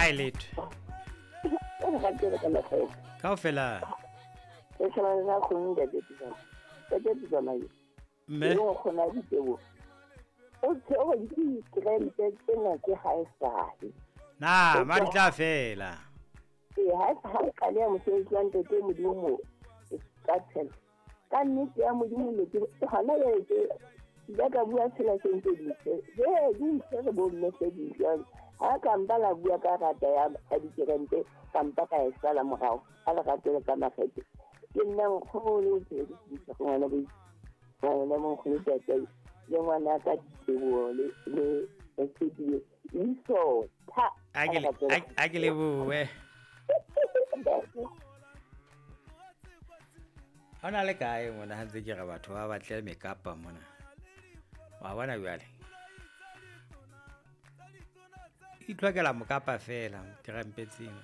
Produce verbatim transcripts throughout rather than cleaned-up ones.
Ai letho. Kaofela. E tshwana le kgone ntate Pitsana. Ntate Pitsana. Mme o kgona ditebo. O tseo di krempe tsena ke ha e sahe. Na, ma di tla fela. E ha ha qale ya mosebetsi wa ntate Modimo ka tshela. Ka nnete ya Modimo le ke hona ya ke ya ka bua tshela sentse di tse. Je di tse re bo mme se di jwang. Ha ka mpa la bua ka rata ya dikerente ka mpa ka e sala morao. A le ratele ka makgethe. Ke nna nkgono o tse di tse ngwana bo. Ngwana mo nkgono tata le ngwana ka ditebo le le le iso tha. A ke a ke le bue. Ona le kae mona ha ntse ke re batho ba batle mekapa mona. Wa bona jwale. Itlhokela mokapa fela tirampetseng.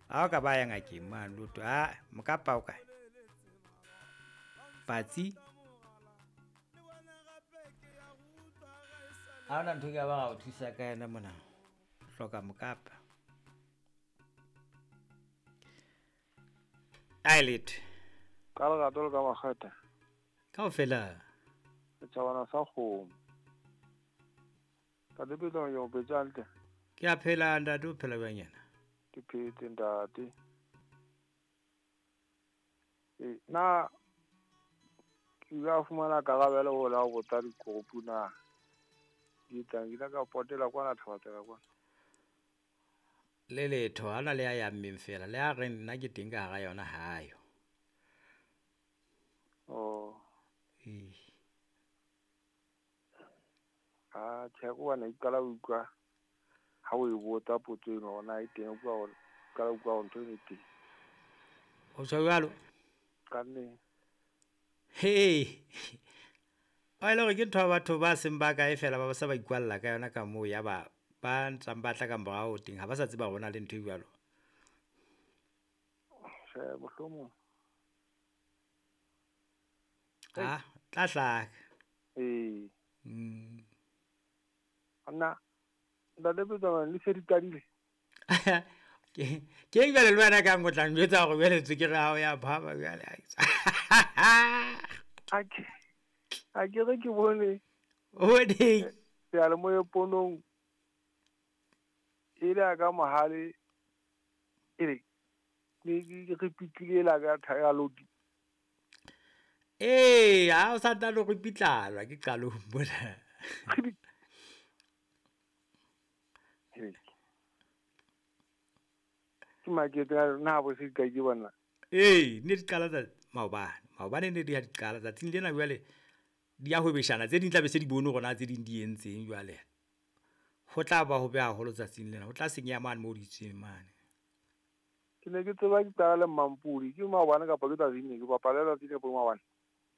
Ha o ka ba ya ngakeng mane lotho ha mokapa o kae? Patsi. Ha ona ntho ke ba o thusa ka yena mona. Hloka mokapa. Ai letho. Ka lerato le ka makgethe. Kaofela. Setjhabana sa kgomo. Ntate Pitsana ke o phetse hantle? Ke a phela ntate, o phela jwang yena? Ke phetse ntate. E na ke ile fumana karabelo ho la ho botsa dikgopo na. Di tlang ke ka potela kwana Thabatsela kwana. Le letho ha na le ya ya mmeng fela le a re nna ke teng ka hara yona hayo. Oh. E. Ah, tjhe ko bana iqala o utlwa ha o e botsa potso eno ona e teng o bua qala utlwa ntho e teng. O tjho jwalo? Ka nne. Hey. A ile gore ke ntho ya batho ba seng ba kae fela ba sa ba ikwalla ka yona ka moo ya ba ba ntsang ba tla ka morao teng ha ba sa tseba hore na le ntho e jwalo. Tjhe, mohlomong. Ah, tla hlaka. Ee. Mm. Nna ntate Pitsana le se di qadile. Ke ke jwale le wena ka ngotla njwetsa hore jwale tswekere ya hao ya phahama jwale. A ke a ke re ke bone. O bone. Seyalemoya ponong e le ka mohale e re ke re pitlile la ka thaya lodi. Ee, ha o sa tla lo re pitlalwa ke qalong mona. Ke makete na bo se ka ke bona. Ee, ne di qala tsa maobane. Maobane ne di ha di qala tsatsing lena jwale di ya hwebeshana tse ding tla be se di bone hore na tse ding di entseng jwale. Ho tla ba ho be haholo tsatsing lena, ho tla senyeha mane moo di tsweng mane. Ke ne ke tseba ke qala le Mampudi, ke maobane kapa ke tsatsing ne ke bapala tsatsing le maobane.